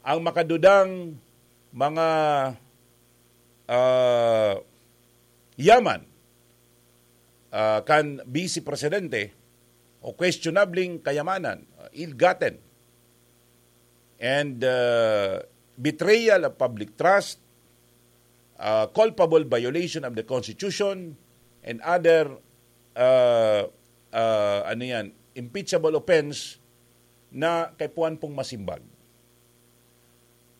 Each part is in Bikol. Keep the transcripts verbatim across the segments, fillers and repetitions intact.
ang makadudang mga, ah, yaman, ah, kan Vice Presidente o questionableng kayamanan, ah, ill-gotten, and, ah, betrayal of public trust, ah, culpable violation of the Constitution, and other, ah, ah, ano yan, impeachable offense na kaipuhan pong masimbag.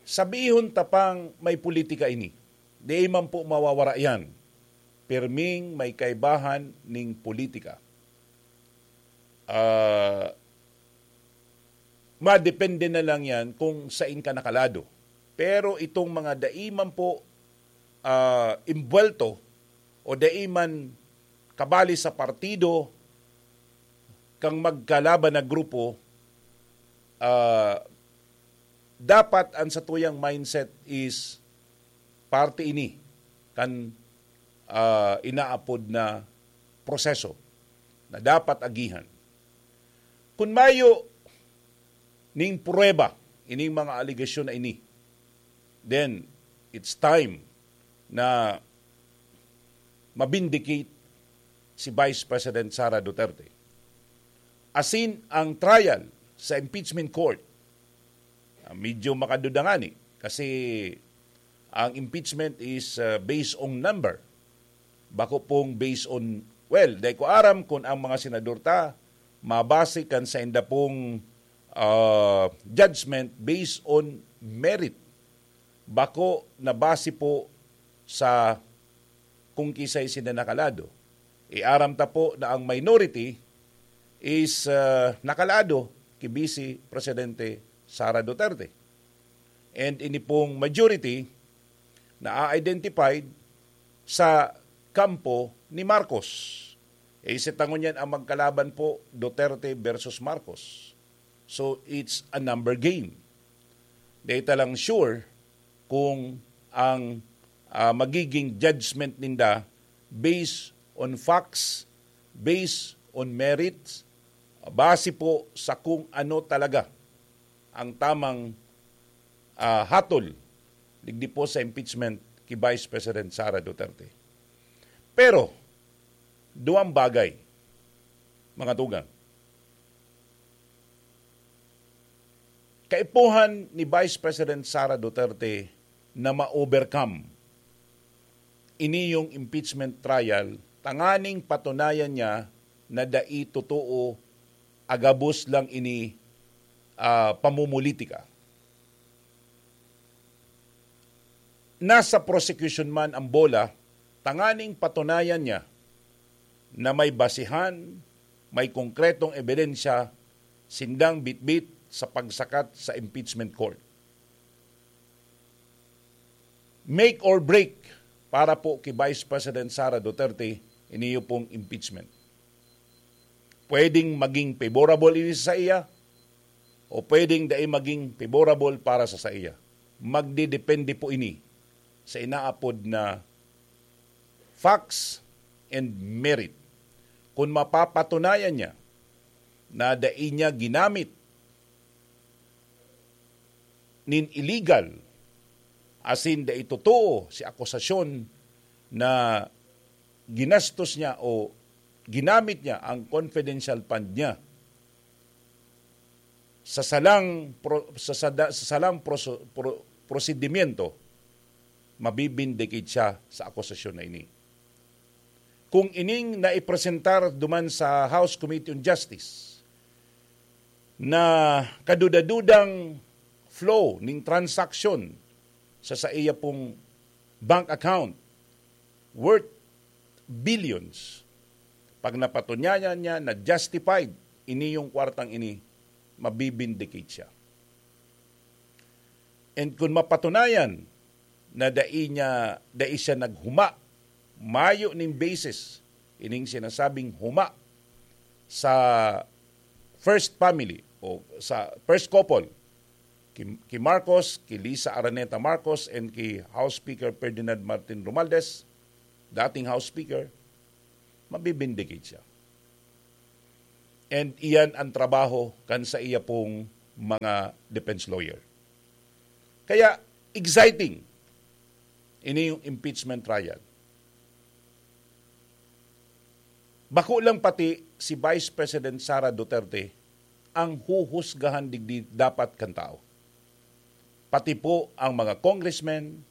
Sabihon ta pang may politika ini. Di man po mawawara yan. Pirming may kaibahan ning politika. Ah, madepende na lang yan kung sain ka nakalado. Pero itong mga dai man po, ah, imbuwelto o dai man kabali sa partido kang magkalaban na grupo, ah, dapat ang satuyang mindset is parte ini kan, ah, inaapod na proseso na dapat agihan. Kun mayo ning pruweba ining mga alegasyon na ini, then it's time na ma-vindicate si Vice President Sara Duterte. Asin ang trial sa impeachment court, ah, medyo makaduda ngani kasi ang impeachment is, ah, based on number. Bako pong based on, well, dai ko aram kung ang mga senador ta mabase kan sainda pong, ah, judgment based on merit. Bako na base po sa kung kisay sinda nakalado. Iaram ta po na ang minority is, ah, nakalado ki Vice Presidente Sara Duterte. And ini pong majority na identified sa kampo ni Marcos. Eh, si tangon yan ang magkalaban po, Duterte versus Marcos. So, it's a number game. Dai ta lang sure kung ang, ah, magiging judgment ninda based on facts, based on merits, base po sa kung ano talaga ang tamang, ah, hatol digdi po sa impeachment ki Vice President Sara Duterte. Pero, duwang bagay, mga tugang. Kaipuhan ni Vice President Sara Duterte na ma-overcome ini yung impeachment trial, tanganing patunayan niya na dai totoo, agabos lang ini, ah, pamumulitika. Nasa prosecution man ang bola, tanganing patunayan niya na may basihan, may konkretong ebidensya sindang bitbit sa pagsakat sa impeachment court. Make or break para po ki Vice President Sara Duterte, iniyo pong impeachment. Pwedeng maging favorable ini sa iya o pwedeng dai maging favorable para sa saiya. Magdedepende po ini sa inaapod na facts and merit. Kung mapapatunayan niya na dai niya ginamit nin illegal, asin dai totoo si akusasyon na ginastos niya o ginamit niya ang confidential fund niya sa salang pro-, sa sada-, sa salang proso-, pro-, prosedimento, mabibindicate siya sa akusasyon na ini. Kung ining naipresentar duman sa House Committee on Justice na kaduda-dudang flow ning transaksyon sa saiya pong bank account worth billions, pag napatunayan niya na justified ini yung kwartang ini, mabibindicate siya. And kung mapatunayan na dai niya, dai siya naghuma, mayo ning basis ining sinasabing huma sa first family o sa first couple, ki, ki Marcos, ki Lisa Araneta Marcos, and ki House Speaker Ferdinand Martin Romualdez, dating House Speaker, mabibindicate siya. And iyan ang trabaho kan sa iya pong mga defense lawyer. Kaya exciting ini yung impeachment trial. Bako lang pati si Vice President Sara Duterte ang huhusgahan digdi dapat kan tao. Pati po ang mga congressmen,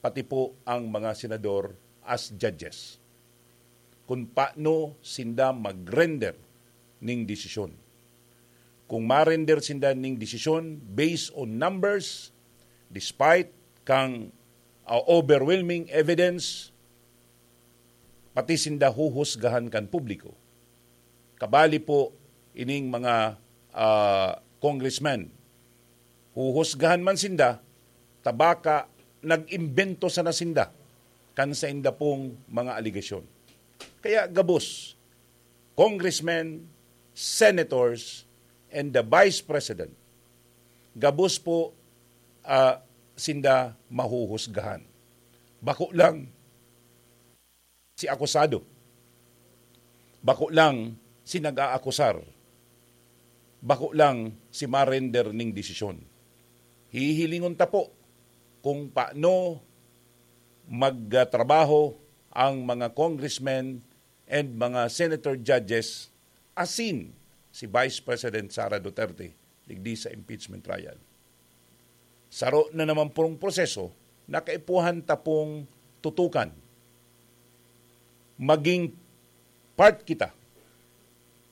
pati po ang mga senador as judges. Kung paano sinda mag-render ning desisyon. Kung ma-render sinda ning desisyon based on numbers, despite kang, ah, overwhelming evidence, pati sinda huhusgahan kan publiko. Kabali po ining mga, ah, congressman. Huhusgahan man sinda, ta baka nag-imbento sana sinda kan sainda pong mga aligasyon. Kaya gabos, congressmen, senators, and the vice president, gabos po, ah, sinda mahuhusgahan. Bako lang si akusado. Bako lang si nag-aakusar. Bako lang si ma-render ning desisyon. Hihilingon ta po kung paano magtrabaho ang mga congressmen and mga senator judges, asin si Vice President Sara Duterte digdi sa impeachment trial. Saro na naman pong proseso na kaipuhan ta pong tutukan. Maging part kita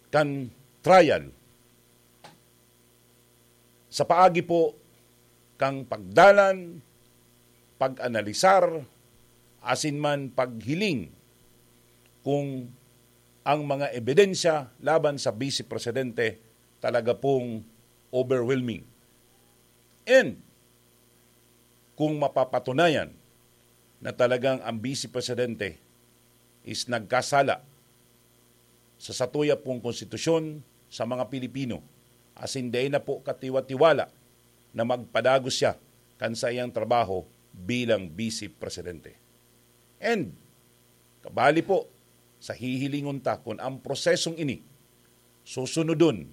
kan trial sa paagi po kang pagdalan, pag-analisar, asin man paghiling kung ang mga ebidensya laban sa Vice Presidente talaga pong overwhelming. And kung mapapatunayan na talagang ang Vice Presidente is nagkasala sa satuya pong konstitusyon sa mga Pilipino, asin dai na po katiwa-tiwala na magpadagos siya kan saiyang trabaho bilang Vice Presidente. And kabali po sa hihilingon ta kun ang prosesong ini susunodon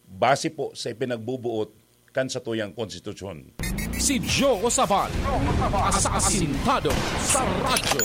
base po sa ipinagbubuot kan satuyang konstitusyon. Si Joe Sabal, asasintado sa radyo.